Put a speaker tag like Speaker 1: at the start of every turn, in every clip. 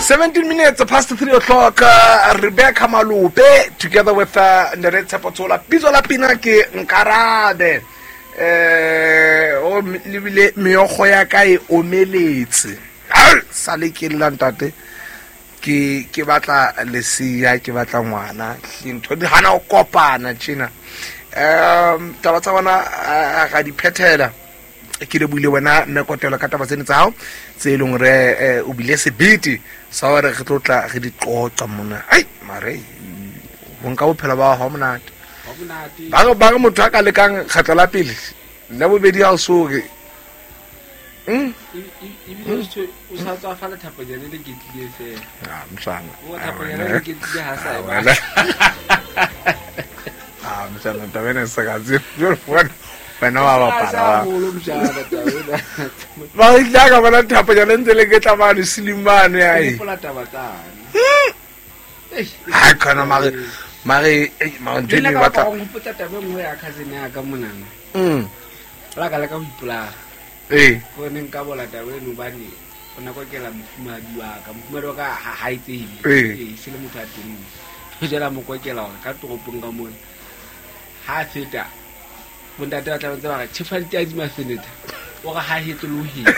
Speaker 1: 17 minutes past 3 o'clock, Rebecca Malope together with Ntate Tshepo Tshola. Pitso la pina ke Nkarabe. O lebile meokgo ya ka e omeletse. Sa le ke lla ntate. Ke batla leseya, ke batla ngwana. Ntho di hana ho kopana tjena. Taba tsa bona ga di phethela. Ke le buile wena mme Kotelo ka taba tsene tsa hao tse e leng hore o bile sebete sa hore re tlo tla re di qoqa mona. Ai mare ho nka bophelo ba hao monate. Ba re motho a ka lekang kgetlo la pele la bobedi ha o so re
Speaker 2: ebile o sa tswa fa lethaponyane le ketlile fela.
Speaker 1: Ah, mshana.
Speaker 2: O thaponyane le ketlile ha sa e batla.
Speaker 1: Ah, mshana taba ena e sa ka tsebe. Wena wa bapala. Ba ile ka bona thaponyane ntse le ketla mane silimane ai.
Speaker 2: Hopola taba tsane.
Speaker 1: Ha kana mare mare mare ntho e batla.
Speaker 2: Go hopotsa taba e nngwe ya cousin ya ka monana. La ka le ka ho ipolaya. Ko ne nka bola taba eno hobane o ne kokela mofumahadi wa ka. Mofumahadi wa ka ha e tsebe. Se le motho a teng. O jela mo kokela hore ka toropong ka mona. Ha feta bontate ba tla ntse ba re tjhefa ditadi mafenetha. O re ha hetle le ho hetle.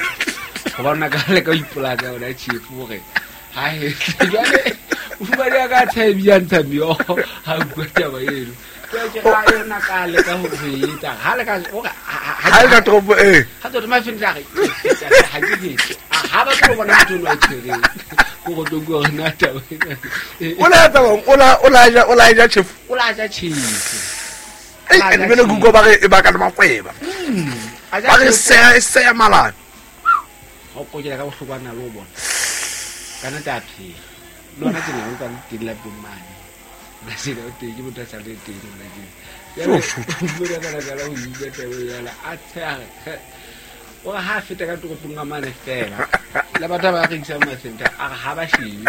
Speaker 2: Hobane na ka le ka ipolaya ka yona tjhefu hore ha hetle. Jwale mofumahadi wa ka a tshae a ntsha meokgo ha bua taba eno.
Speaker 1: Ha ka toropo e.
Speaker 2: Ha tsotho mafenetha a re ha ke hetle. Ha ba tlo bona motho ono a tshwereng. Ko go tlo bua hore na taba ena.
Speaker 1: O la etsa eng? O la ja tjhefu?
Speaker 2: O la ja tjhefu.
Speaker 1: Ei, and bele kuko ba re e baka le makweba. Ba re seya malana.
Speaker 2: Ha o kokela ka bohloko a na le ho bona. Ka nnete a phela. Le hona tjena o ntsa le teng lapeng mane. Na sena o teng, ke motho a sa le teng hona tjena. Jwale, o ka baka la ho utlwa taba e jwalo, a tsheha re, o re ha a feta ka toropong ka mane fela, le batho ba rekisang mafenta, a re ha ba shebe.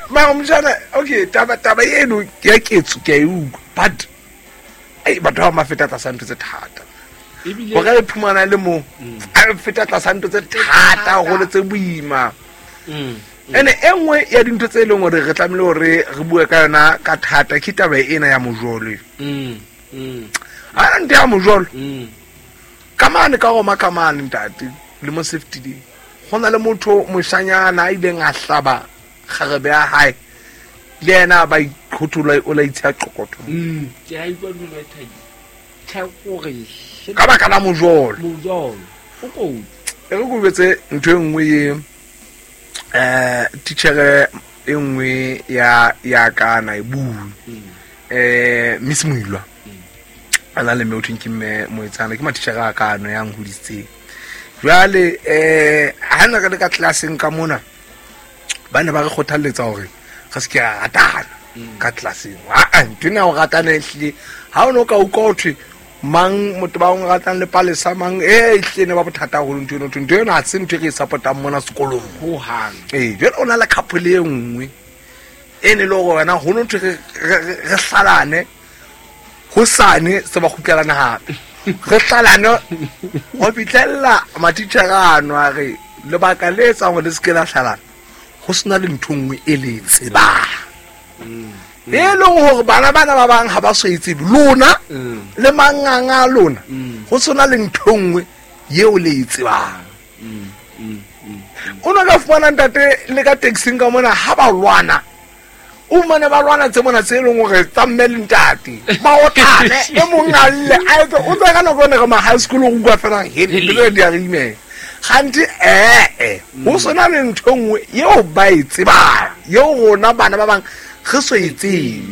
Speaker 1: Mara mojana, okay, taba eno ya ketso ke a e utlwa, but ei, batho ba mafeta tlasa ntho tse thata.
Speaker 2: Ebile
Speaker 1: Hore re phumana le mo, a feta tlasa ntho tse thata haholo tse boima. Ene e nngwe ya dintho tse leng hore re tlamehile hore re bue ka yona ka thata ke taba ena ya mojolo. Ha ntho ya mojolo. Ka mane ka Roma ka mane ntate le mo safety day. Ho na le motho moshanyana a ileng a hlaba kgarebe ya hae. Le yena ba ikhothola o la itsha qoqotho.
Speaker 2: Ke a utlwa ntho e thabi. Tjha kore
Speaker 1: ka baka la mojolo.
Speaker 2: Mojolo. O kotsi.
Speaker 1: E re ko betse ntho e nngwe ye teacher e nngwe ya ka na e bue. Miss Moilwa. A na le mme o thweng ke mme Moetsana, ke matitjhere a ka ano ya nhodisitseng. Jwale ha ne re le ka tlelaseng ka mona, ba ne ba re kgothalletsa hore re se ke ra ratana ka tlelaseng. Aa, ntho ena ya ho ratana ehlile, ha o no ka utlwa ho thwe mang motho ba o ratang le palesa mang, ehlile ne ba bothata haholo ntho eno. Ntho eno ha se ntho e re e support-ang mona sekolong.
Speaker 2: Ho hang.
Speaker 1: Jwale o na le couple e nngwe e ne le hore wena ho no thwe re hlalane, hosane se ba kgutlelana hape. Re hlalane ho fihlella matitjhere ano a re lebaka le etsang hore le se ke la hlalana, ho sena le ntho nngwe e le e tsebang. E leng hore bana bana ba bang ha ba so e tsebe, lona le manganga a lona, ho sena le ntho nngwe eo le e tsebang. O no ka fumana ntate le ka taxing ka mona ha ba lwana, o fumane ba lwana tse mona tse leng hore tsa mme le ntate, ba otlane, e mong a lle, a etse, o tswa ka nako ene re ma high school, o utlwa fela, he, le tsone di a re imela. Kgante, ho sena le ntho e nngwe eo ba e tsebang, eo rona bana ba bang re so e tsebe.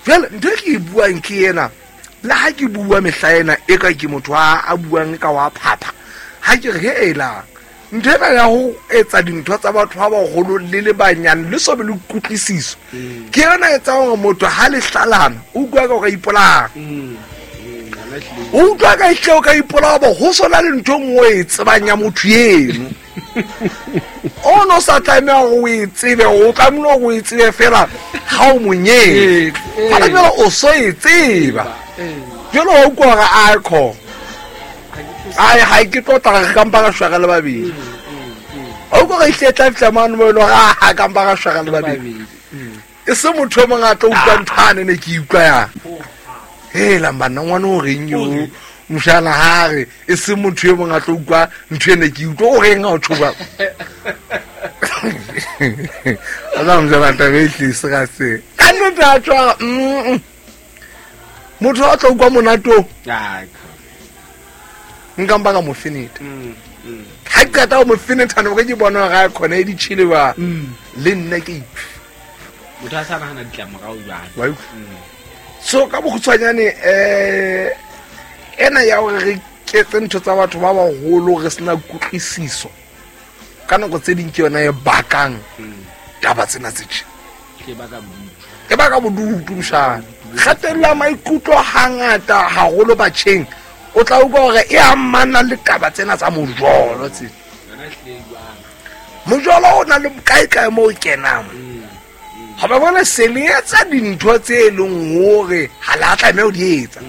Speaker 1: Jwale ntho e ke e buang ke ena, le ha ke bua mehla ena e ka ke motho a buang ka wa phapha, ha ke re, he, elang, ntho ena ya ho etsa dintho tsa batho ba baholo le le banyane le so be le kutlwisiso, ke yona e etsang hore motho ha le hlalana o utlwa ka o ka ipolaya. O utlwa ka ehlile o ka ipolaya hoba ho sona le ntho e nngwe e tsebang ya motho eno. O no sa tlameha hore o e tsebe, o tlamehile hore o e tsebe fela ha o mo nyetse. Ha le jwale o so e tseba. Jwale wa utlwa hore a kho. Ai, ha ke tlo tla re ka mpa ka shwa re le babedi. O ko re ihle tla fihla mane mo e le gore a kampa ga shwaga le babedi. E se motho o mongwe a tlo utlwa ntho ane ne ke utlwa yang. Hela banna ngwana o reng yo mošana ha re e se motho yo mongwe a tlo utlwa ntho e ne ke utlwa o reng ga o tshoba. A tla mojana taba e tlise ga se. Ka nnete a tswa motho a tlo utlwa monate o. Nka mpa ka mo feneta. Ha ke qeta ho mo feneta no ke bona ga khona e di chile ba. Le nna ke iphe.
Speaker 2: Motho a sa nahana ditlamorao jwale.
Speaker 1: So ka bokgutshwanyane ena ya hore re ketse ntho tsa batho ba baholo re sena kutlwisiso ka nako tse ding ke yona e bakang taba tsena tse tje. E baka bodutu mshana. Kgatello ya maikutlo hangata haholo batjheng o tla utlwa hore e amana le taba tsena tsa mojolo tse. Mojolo o na le kae kae mo o kenang. Ha ba bona se le etsa dintho tse e leng hore ha la tlameha ho di etsa.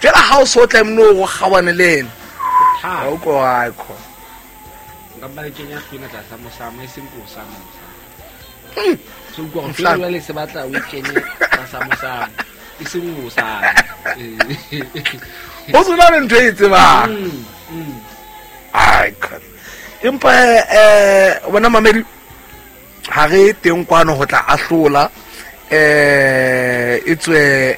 Speaker 1: Jwale ha o so tlameha ho kgawane le ena. Ha o ko ha kho.
Speaker 2: Nka ba kenya hlwena tlasa mosamo e seng ko sa mosamo. So go go jwale se batla o kenye tlasa mosamo e seng o sa.
Speaker 1: O tsona le ntho e tsebang. Ai kho. Empa bona mamedi ha re teng kwano ho tla ahlola e tswe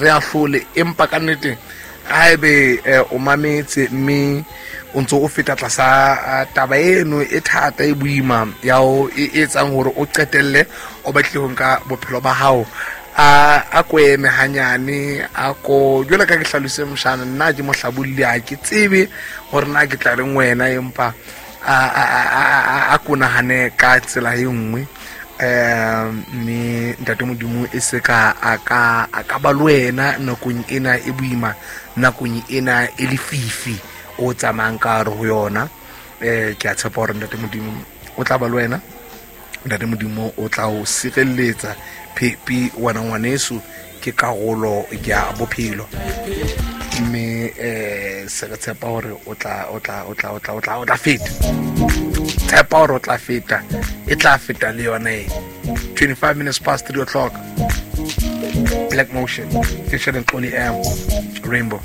Speaker 1: re ahlole empa ka nnete haebe o mametse mme o ntso o feta tlasa taba eno e thata e boima ya o e etsang hore o qetelle o batle ho nka bophelo ba hao a ko eme hanyane a ko jwale ka ke hlalose moshana nna ke mohlabolli a ke tsebe hore na ke tla reng wena empa a ko nahane ka tsela e nngwe mme ntate Modimo e se ka a ka ba le wena nakong ena e boima nakong ena e lefifi o tsamayang ka hare ho yona. Ke a tshepa hore ntate Modimo o tla ba le wena, ntate Modimo o tla o sireletsa. Phepi wena ngwaneso ke karolo ya bophelo mme se re tshepa hore o tla feta. Tshepa hore o tla feta, e tla feta le yona e. 25 minutes past 3 o'clock. Black Motion featuring Xoli M, Rainbow.